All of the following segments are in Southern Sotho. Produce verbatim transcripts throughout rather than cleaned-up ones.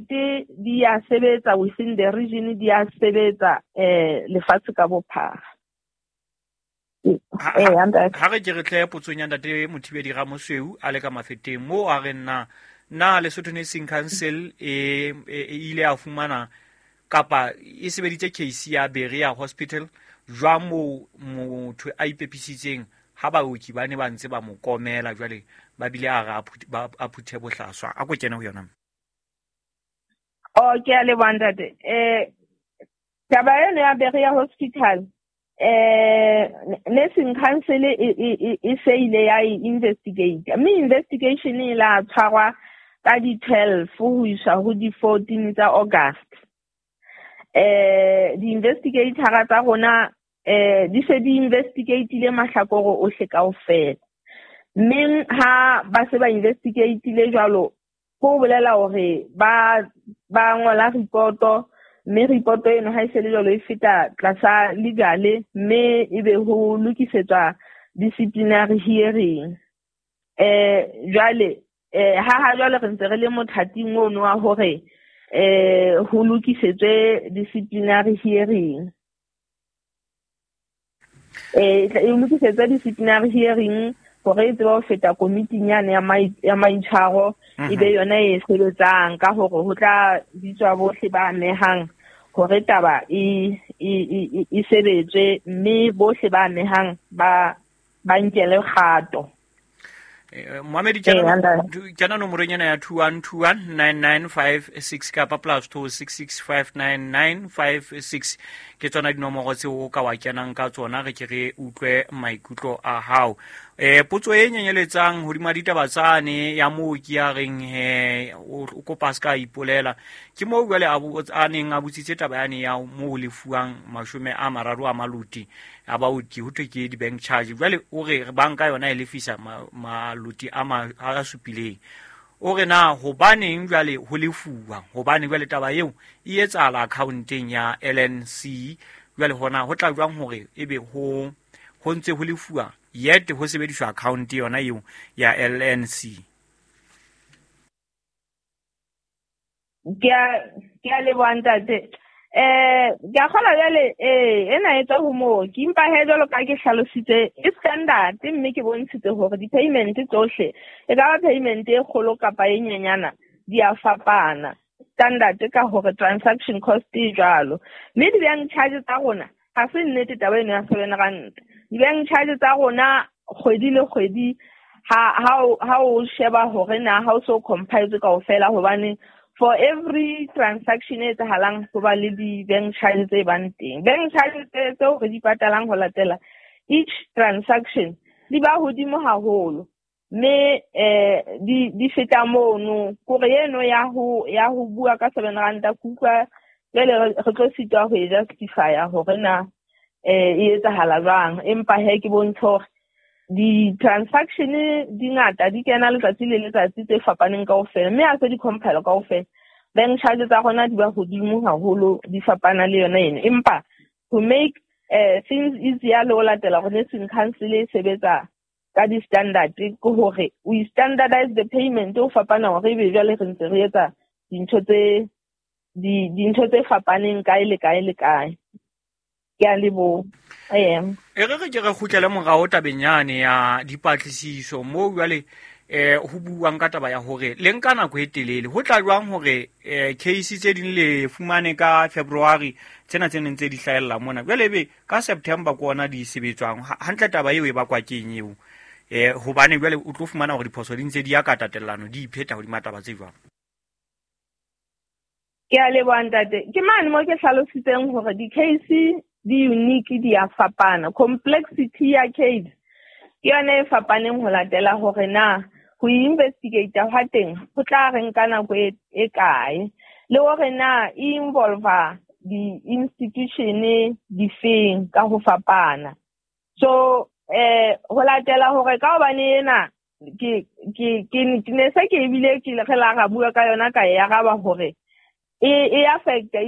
Di-standard di a sebetsa within the region, di a sebetsa eh lefatshe ka bophara. Ha re ke re tle potsong ya ntate Mothibedi Ramosweu a le ka Mafeteng mo a re nna na Lesotho Nursing Council e ile a fumana kapa e sebeditse case ya Berea Hospital jwang mo motho a ipepisitseng ha baoki ba ne ba ntse ba mo komela jwale ba bile a re a phuthe bohlaswa a ko kene ho yona. Oh, ke a leboha ntate. Eh taba eno ya Berea Hospital eh Nursing Council e e se ile ya investigate, mme investigation e la tshwarwa ka di twelve ho isa ho di fourteen tsa August. Eh di-investigator tsa rona eh di se di investigateile mahlakore ohle kaofela, mme ha ba se ba investigateile jwalo ho bolela hore ba ba ngola reporto, mme reporto eno ha e se le jwalo e feta tlasa legal, mme ebe ho lokisetswa disciplinary hearing. Eh jwale eh ha ha jwale re ntse re le mothating ono wa hore eh ho lokisetswe disciplinary hearing. Eh e lokisetswe disciplinary hearing hore e tsebe ho feta komiting yane ya ya maitshwaro, ebe yona e sebetsang ka hore ho tla bitswa bohle ba amehang hore taba e e e sebetswe, mme bohle ba amehang ba ba nkele kgato. Mohamedi kena nomorong ena ya two one two one nine nine five six kapa plus two six six five nine nine five six ke tsona dinomoro tseo o ka wa kenang ka tsona re ke re utlwe maikutlo a hao. Eh potso e nyenyeletsang hodima ditaba tsane ya mooki ya reng he o kopa se ka ipolela ke moo jwale a neng a botsitse taba yane ya moo lefuwang mashome a mararo a maluti a baoki ho thwe ke di-bank charge, jwale o re banka yona e lefisa maluti a a supileng. O re na hobaneng jwale ho lefuwa, hobane jwale taba eo e etsahala accounteng ya L N C, jwale hona ho tla jwang hore ebe ho ho ntse ho lefuwa yet ho sebediswa account yona eo ya L N C? Ke a ke a leboha ntate. Eh ke a kgola jwale eh ena e tswa ho mooki, empa he jwalo ka ke hlalositse e standard, mme ke bontshitse hore di-payment tsohle e ka ba payment e kgolo kapa e nyenyana di a fapana. Standard ka hore transaction cost e jwalo, mme di-bank charge tsa rona ha se nnete taba eno ya seven rand. Di-bank charge tsa rona kgwedi le kgwedi ha ha o sheba hore na ha o so compile kaofela, hobane for every transaction e etsahalang ho ba le di-bank charge tse bang teng. Bank charge tseo re di patalang ho latela each transaction di ba hodimo haholo, mme eh di di feta mono. Kore eno ya ho ya ho bua ka seven rand ke utlwa jwale re tlo sitwa ho e justify-a hore na eh e etsahala jwang, empa he ke bontsha hore di-transaction di ngata di kena letsatsi le letsatsi tse fapaneng kaofela, mme ha se di compile kaofela bank charge tsa rona di ba hodimo haholo, di fapana le yona eno. Empa to make eh things easier le ho latela hore Nursing Council e sebetsa ka di-standard ke hore we standardize the payment ho fapana hore ebe jwale re ntse re etsa dintho tse di dintho tse fapaneng kae le kae le kae. Ke a leboha. E re re ke re kgutlele morao tabeng yane ya dipatlisiso moo jwale eh ho buuwang ka taba ya hore le nka nako e telele ho tla jwang hore eh case tse ding le fumane ka February tsena tse neng tse di hlahella mona jwale ebe ka September ke ona di sebetswang hantle. Taba eo e bakwa keng eo? Eh hobane jwale o tlo fumana hore diphoso di ntse di ya ka tatellano di ipheta hodima taba tse jwang. Ke a leboha ntate. Ke mane mo ke hlalositseng hore di-case di unique di a fapana. Complexity ya case ke yona e fapaneng ho latela hore na ho investigate hwa teng ho tla re nka nako e kae, le hore na e involve di-institution difeng ka ho fapana. So eh ho latela hore ka hobane ena ke ke ke ne se ke ebile ke re la ra bua ka yona ka e araba hore e e affecta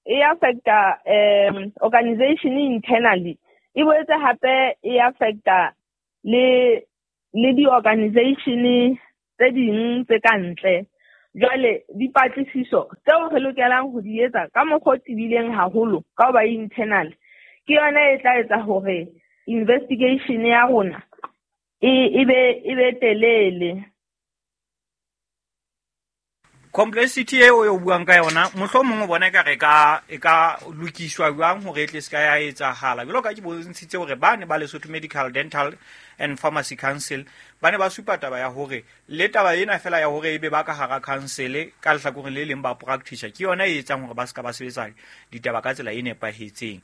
e affecta um organization internally, e boetse hape e affecta le le di-organization tse ding tse ka ntle. Jwale dipatlisiso tseo re lokelang ho di etsa ka mokgwa o tebileng haholo ka ho ba internal ke yona e tla etsa hore investigation ya rona e e be e be telele. Complexity eo o buang ka yona mohlomong o bona ekare ka e ka lokiswa jwang hore e tle se ka ya etsahala. Jwalo ka ke bontshitse hore ba ne ba Lesotho Medical Dental and Pharmacy Council ba ne ba supa taba ya hore le taba ena fela ya hore ebe ba ka hara council ka lehlakoreng le leng ba practice ke yona e etsang hore ba se ka ba sebetsa ditaba ka tsela e nepahetseng.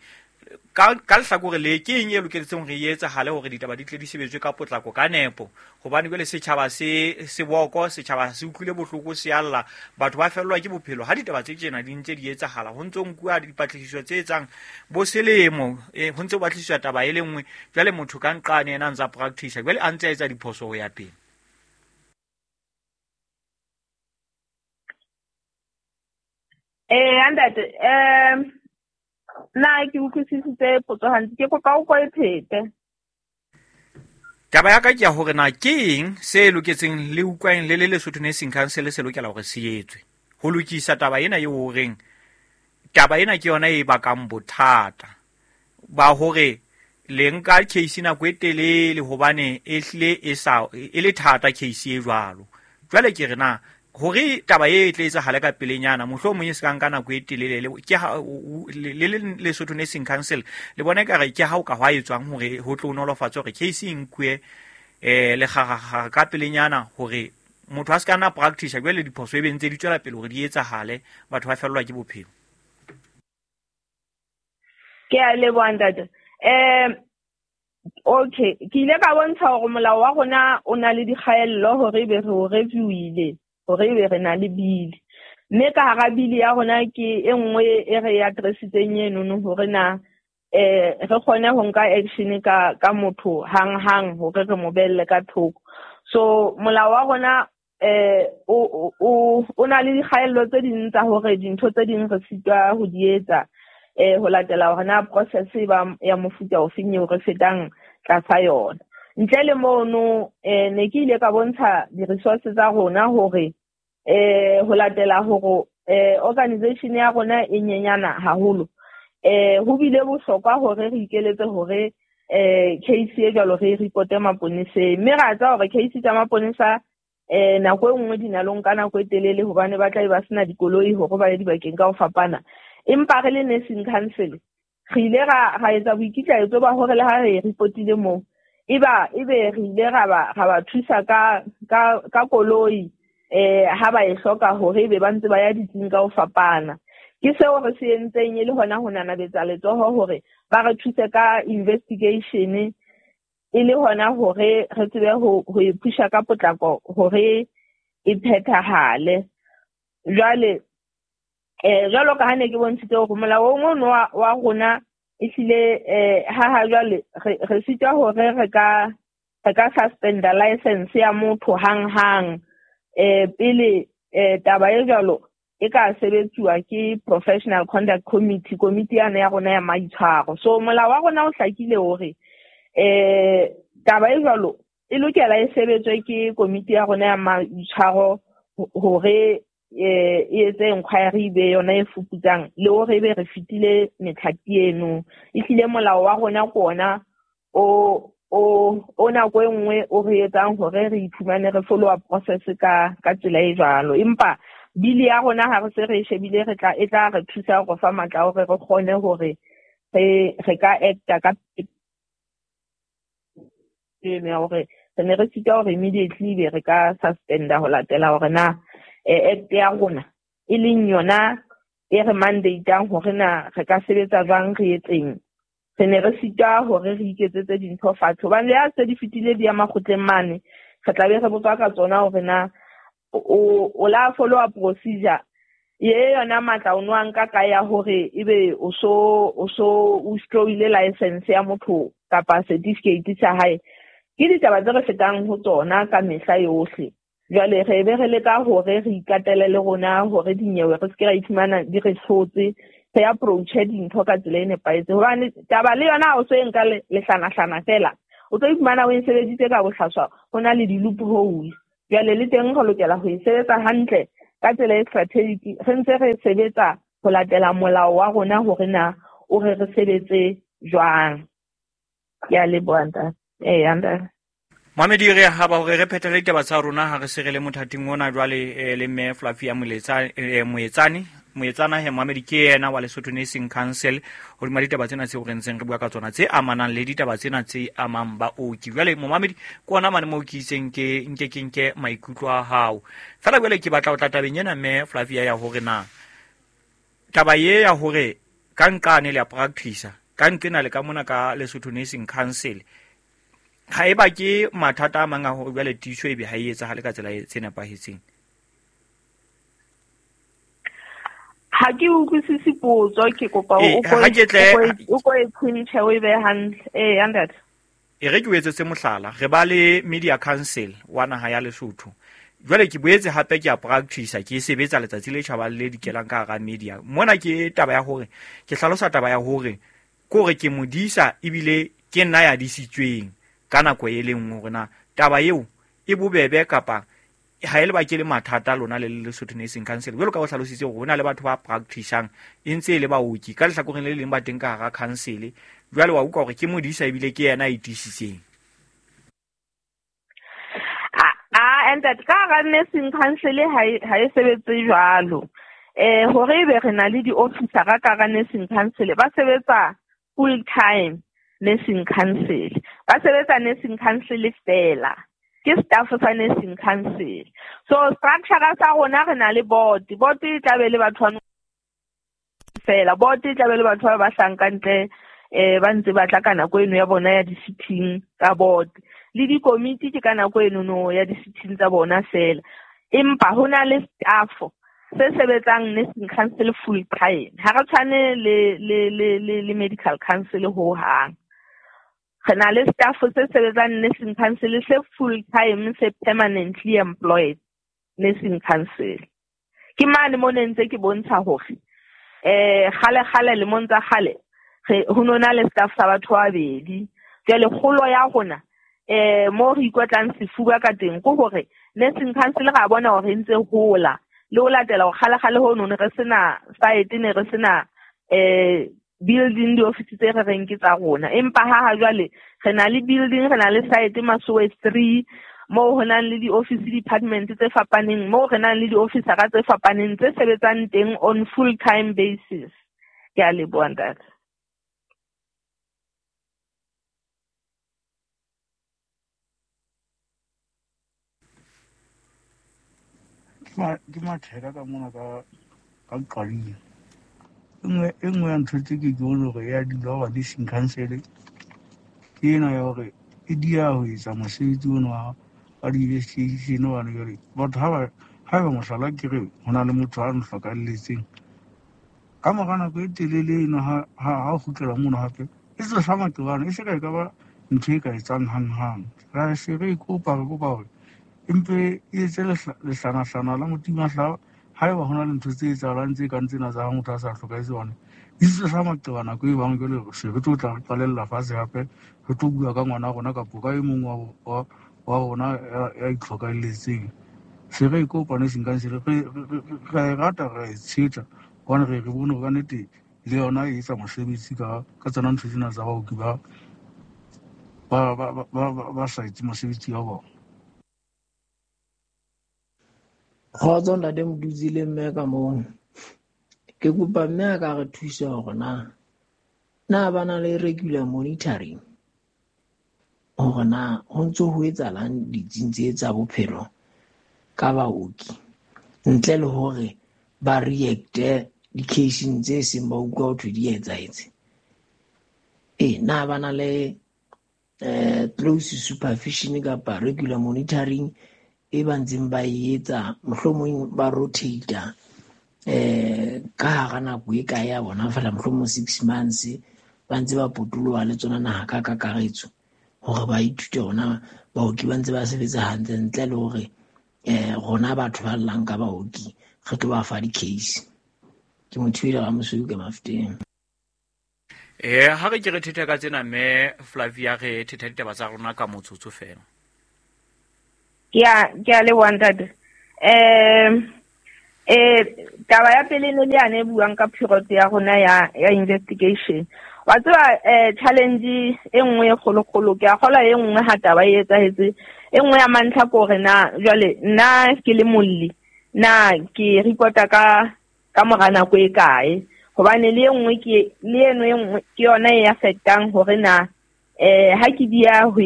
Ka ka lehlakore le ke eng e loketseng hore e etsahale hore ditaba di tle di sebetswe ka potlako ka nepo, hobane jwale setjhaba se se boko, setjhaba se utlwile bohloko, se alla, batho ba fellwa ke bophelo ha ditaba tse tjena di ntse di etsahala. Ho ntso nkuwa dipatlisiso tse etsang bo selemo, eh, ho ntse ho batlisiswa taba e le nngwe, jwale motho ka nqane yena a ntsa practice, jwale a ntse a etsa diphoso ho ya pele. Eh ntate, eh na ke utlwisisitse potso hantle, ke kopa o ko e phete. Taba ya ka ke ya hore na ke eng se loketseng le utlwang le le Lesotho Nursing Council se lokela hore se etswe ho lokisa taba ena eo horeng taba ena ke yona e bakang bothata ba hore le nka case nako e telele hobane e hlile e sa e le thata case e jwalo. Jwale ke re na hore taba e tle etsahale ka pelenyana mohlomong e se ka nka nako e telele le ke ha le le Lesotho Nursing Council le bona ekare ke ha o ka hwa etswang hore ho tlo nolofatsa hore case e nkuwe eh le kgakgakga ka pelenyana hore motho a se ka nna practice jwale diphoso e be ntse di tswela pele hore di etsahale, batho ba fellwa ke bophelo. Ke a leboha ntate. Eh okay, ke ile ka bontsha hore molao wa rona o na le dikgaello hore ebe re o reviewile, hore ebe re na le bili, mme ka hara bili ya rona ke e nngwe e re e addressitseng enono hore na eh re kgone ho nka action ka ka motho hang hang hore re mo belle ka thoko. So molao wa rona eh o o o na le dikgaello tse ding tsa hore dintho tse ding re sitwa ho di etsa eh ho latela hore na process e ba ya mofuta ofeng eo re fetang tlasa yona. Ntle le mono eh ne ke ile ka bontsha di-resources tsa rona hore eh ho latela hore eh organization ya rona e nyenyana haholo, eh ho bile bohlokwa hore re ikeletse hore eh case e jwalo re reporte maponeseng, mme ra tseba hore case tsa maponesa eh nako e nngwe di na le ho nka nako e telele hobane ba tla be ba sena dikoloi hore ba ye dibakeng ka ho fapana. Empa re le Nursing Council re ile ra ra etsa boikitlaetso ba hore le ha re reportile moo eba ebe re ile ra ba ra ba thusa ka ka ka koloi eh ha ba e hloka hore ebe ba ntse ba ya ditsing ka ho fapana. Ke seo re se entseng e le hona ho nanabetsa letsoho hore ba re thuse ka investigation e le hona hore re tsebe ho ho e pusha ka potlako hore e phethahale. Jwale eh jwalo ka ha ne ke bontshitse hore molao o ono wa wa rona ehlile eh ha ha jwale re re sitwa hore re ka re ka suspenda license ya motho hang hang eh pele eh taba e jwalo e ka sebetsuwa ke Professional Conduct Committee, komiti yana ya rona ya maitshwaro. So molao wa rona o hlakile hore eh taba e jwalo e lokela e sebetswe ke komiti ya rona ya maitshwaro hore eh e etse inquiry be yona e fuputsang le hore ebe re fitile metlhati eno. Ehlile molao wa rona ke ona o o o nako e nngwe o re etsang hore re iphumane re follow up process ka ka tsela e jwalo. Empa bili ya rona ha re se re e shebile re tla e tla re thusa go fa matla hore re kgone hore re re ka acta ka eno ya hore re ne re sitwa hore immediately be re ka suspenda ho latela hore na act ya rona e leng yona e re mandatang hore na re ka sebetsa jwang re etseng. Re ne re sitwa hore re iketsetse dintho fatshe hobane le ha se di fetile di ya makgotleng mane re tla be re botswa ka tsona hore na o o la follow up procedure ye yona matla o no a nka ka ya hore ebe o so o so o withdrawile license ya motho kapa certificate sa hae. Ke ditaba tse re fetang ho tsona ka mehla yohle. Jwale re be re leka hore re ikatele le rona hore dinyewe re se ke ra iphumana di re hlotse, re approach dintho ka tsela e nepahetseng. Hobane taba le yona ha o so e nka lehlanahlana fela, o tlo iphumana o e sebeditse ka bohlaswa, ho na le di-loophole. Jwale le teng re lokela ho e sebetsa hantle, ka tsela e strategic, re ntse re sebetsa ho latela molao wa rona hore na o re re sebetse jwang. Ke a leboha ntate. Eh ntate. Mohamedi re ha ba hore re phethele ditaba tsa rona ha re se re le mothating ona jwale le mme Flavia Moletsa Moetsane Moetsana he Mohamedi ke yena wa Lesotho Nursing Council hodima ditaba tsena tseo re ntseng re bua ka tsona tse amanang le ditaba tsena tse amang baoki. Jwale Mohamedi ke ona mane moo ke itseng ke nke ke nke maikutlo a hao. Fela jwale ke batla ho tla tabeng ena mme Flavia ya hore na taba ye ya hore ka nqane le ya practice ka nqena le ka mona ka Lesotho Nursing Council ha eba ke mathata a mang a hore jwale tiiso ebe ha e etsahale ka tsela e tse nepahetseng. Ha ke utlwisise potso, ke kopa o ko o ko e tshintjhe o e behe hantle. Eh ntate. E re ke o etsetse mohlala, re ba le Media Council wa naha ya Lesotho. Jwale ke boetse hape ke a practice ke sebetsa letsatsi le tjhabang le dikelang ka hara media. Mona ke taba ya hore ke hlalosa taba ya hore ke hore ke modisa ebile ke nna ya disitsweng ka nako e leng hore na taba eo e bobebe kapa ha e le ba ke le mathata lona le Lesotho Nursing Council. Jwalo ka o hlalositse hore hona le batho ba practiceang e ntse e le baoki ka lehlakoreng le leng ba teng ka hara council. Jwale wa utlwa hore ke modisa ebile ke yena a itisitseng. Ah and that ka hara Nursing Council ha ha e sebetse jwalo. Eh hore ebe re na le di-officer ka hara Nursing Council ba sebetsa full time Nursing Council. Ba sebetsa Nursing Council fela. Ke staff sa Nursing Council. So structure sa rona re na le board. Board e tla be le batho ba fela. Board e tla be le batho ba ba hlanka ntle eh ba ntse ba tla ka nako eno ya bona ya di-sitting tsa board. Le di-committee ke ka nako eno no ya di-sitting tsa bona fela. Empa ho na le staff se sebetsang Nursing Council full time. Ha re tshwane le le le le Medical Council ho hang. Re na le staff se sebetsang Nursing Council se full time se permanently employed Nursing Council. Ke mane mo ne ntse ke bontsha hore eh kgale kgale le montsa kgale re ho nona le staff sa batho ba babedi. Jwale kgolo ya rona eh mo re ikotlang sefuba ka teng ke hore Nursing Council ra bona hore ntse hola le ho latela hore kgale kgale ho none re sena site ne re sena eh building di-office tse re reng ke tsa rona. Empa ha ha jwale re na le building, re na le site Masowe three moo ho nang le di-office department tse fapaneng, moo re nang le di-officera tse fapaneng tse sebetsang teng on full time basis. Ke a leboha ntate. Ke matheka ka mona ka ka Qading. E nngwe ya ntho tse ke ke bone hore ya dula hoba Nursing Council ke ena ya hore e dia ho etsa mosebetsi ono wa wa di-investigation hobane jwale batho ha ba haeba mohlala ke re ho na le motho a nhlokalletseng ka mora nako e telele eno ha ha o kgutlela mono hape e tlosa maqebane e se ka e ka ba ntho e ka etsang hanghang. Ra se re kopa re kopa hore empe e etse lehlanahlana la motimahlao haeba hona le ntho tse etsahalang tse kang tsena tsa ha motho a sa hlokahetse hobane di tlosa maqeba nako e bang jwale se re tlo tla re qalella fatshe hape re tlo bua ka ngwana rona kapo ka e mong wa wa rona ya itlhokahelletseng. Se re kopa Nursing Council re re e rata re e tshehetsa hobane re re bone hore ka nnete le yona e etsa mosebetsi ka ka tsona ntho tsena tsa baoki ba ba ba ba ba sa etse mosebetsi wa bona. Kgotso ntate Modutsi le mme ka moo. Ke kopa mme a ka re thusa hore na na ba na le regular monitoring hore na ho ntso ho etsahalang ditsing tse tsa bophelo ka baoki ntle le hore ba react-e di-case-ing tse seng ba utlwa ho thwe di etsahetse. Eh na ba na le eh close supervision kapa regular monitoring e ba ntseng ba e etsa mohlomong ba rotate eh ka hara nako e kae ya bona fela mohlomong six months ba ntse ba potoloha le tsona naha ka kakaretso hore ba ithute hona baoki ba ntse ba sebetsa hantle ntle le hore eh rona batho ba llang ka baoki re tlo ba fa di-case. Ke motho ile Ramosweu ka Mafeteng. Eh ha re ke re thetha ka tsena mme Flavia re thetha ditaba tsa rona ka motsotso fela. Ke a ke a leboha ntate. Eh Eh taba ya pele ne le yane buang ka period ya rona ya ya investigation. Wa tseba eh challenge e nngwe e kgolokgolo ke a kgola e nngwe ha taba e etsahetse e nngwe ya mantlha ko hore na jwale nna ke le molli na ke reporta ka ka mora nako e kae, hobane le e nngwe ke le eno e nngwe ke yona e affectang hore na eh ha ke dia ho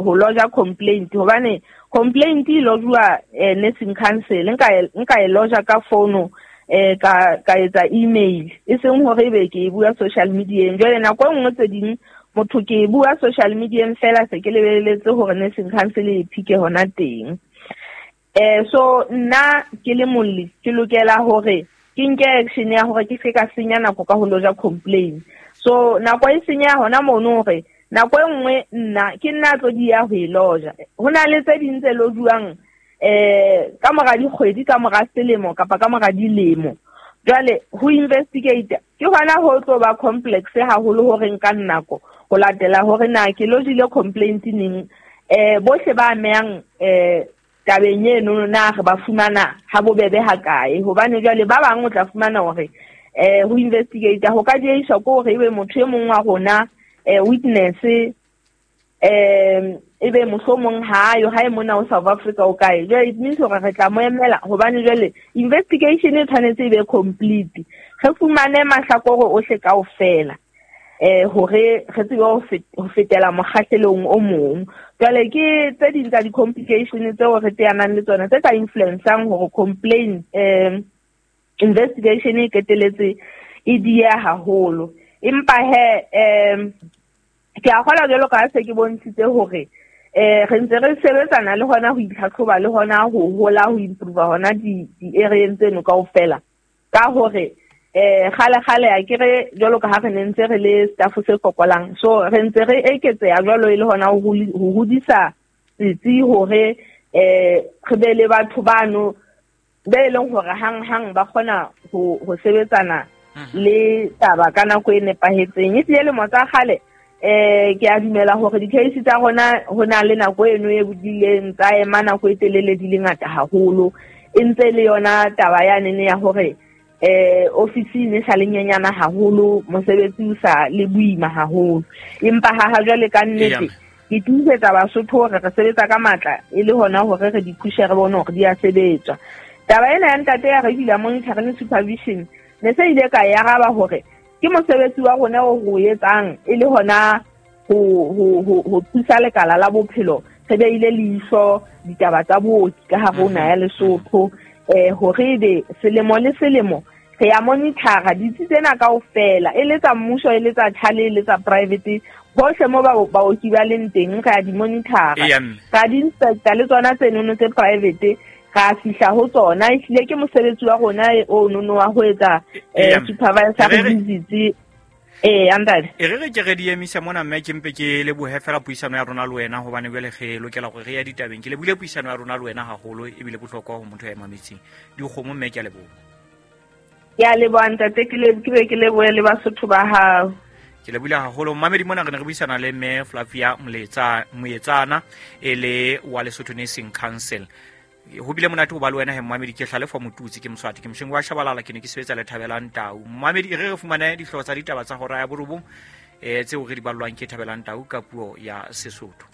ho lodge complaint, hobane complaint e lodgwa eh, nursing council nka nka e lodge ka phone eh ka ka etsa email e seng hore ebe ke e bua social media. Jwale nako e nngwe tse ding motho ke e bua social media fela se ke lebeletse hore nursing council e phike hona teng. Eh so nna ke le molli ke lokela hore ke nke action ya hore ke se ka senya nako ka ho lodge complaint. So nako e senya hona mono hore nako e nngwe nna ke nna tlo di ya ho e loja. Ho na le tse ding tse lojuwang eh ka mora dikgwedi, ka mora selemo kapa ka mora dilemo. Jwale ho investigate ke hona ho tlo ba complex haholo hore nka nako ho latela hore na ke lodgile complaint neng, eh bohle ba amehang eh tabeng eno na re ba fumana ha bobebe ha kae, hobane jwale ba bang o tla fumana hore eh ho investigate ho ka dieiswa ko hore ebe motho e mong wa rona eh witness eh ebe mohlomong ha yo ha e mona o South Africa o kae. Jwale it means hore re tla mo emela hobane jwale investigation e tshwanetse e be complete, re fumane mahlakore ohle kaofela eh hore re tsebe ho fetela mokgahlelong o mong. Jwale ke tse ding tsa di-complication tseo re teanang le tsona tse ka influencang hore complaint eh investigation e qeteletse e dieha haholo. Empa he eh ke a kgola jwalo ka se ke bontshitse hore eh re ntse re sebetsana le hona ho itlhatlhoba le hona ho hola ho improve hona di di-areeng tseno kaofela, ka hore eh kgale kgale a ke re jwalo ka ha re ne ntse re le staff se fokolang, so re ntse re eketseha jwalo e le hona ho hodisa setsi hore eh re be le batho bano be e leng hore hang hang ba kgona ho ho sebetsana le taba ka nako e nepahetseng. E tlile lemo tsa kgale eh ke a dumela hore di-case tsa rona ho na le nako eno e bodileng tsa ema nako e telele di le ngata haholo, e ntse le yona taba yane ya hore eh office ne sa le nyenyana haholo, mosebetsi o sa le boima haholo. Empa ha ha jwale ka nnete ke tiisetsa Basotho hore re sebetsa ka matla e le hona hore re di pushe re bone hore di a sebetswa. Taba ena ya ntate ya regular monitoring supervision ne se ile ka e araba hore ke mosebetsi wa rona o ho etsang e le hona ho ho ho thusa lekala la bophelo re beile leihlo ditaba tsa booki ka hare ho naha ya Lesotho eh hore ebe selemo le selemo re ya monitora ditsi tsena kaofela e le tsa mmuso e le tsa tjhale e le tsa private bohle mo ba baoki ba leng teng re a di monitora, ra di inspector le tsona tsenono tse private ra fihla ho tsona. Ehlile ke mosebetsi wa rona o nono wa ho etsa eh supervisor visits eh andale. E re re ke re di emisa mona mme ke mpe ke lebohe fela puisano ya rona le wena hobane jwale re lokela hore re ya ditabeng. Ke lebohile puisano ya rona le wena haholo ebile bohlokwa ho motho ya mametseng. Dikgomo mme ke a leboha. Ke a leboha ntate, ke le ke be ke lebohe le Basotho ba hao. Ke lebohile haholo mmamedi mona re ne re buisana le mme Flavia Moletsa Moetsana e le wa Lesotho Nursing Council. Ho bile monate ho ba le wena he mmamedi, ke Hlalefo Motutsi ke Moswati ke Moshengi wa Shabalala ke ne ke sebetsa le Thabelang Tau. Mmamedi e re re fumane dihlooho tsa ditaba tsa hora ya borobong eh tseo re di ballwang ke Thabelang Tau ka puo ya Sesotho.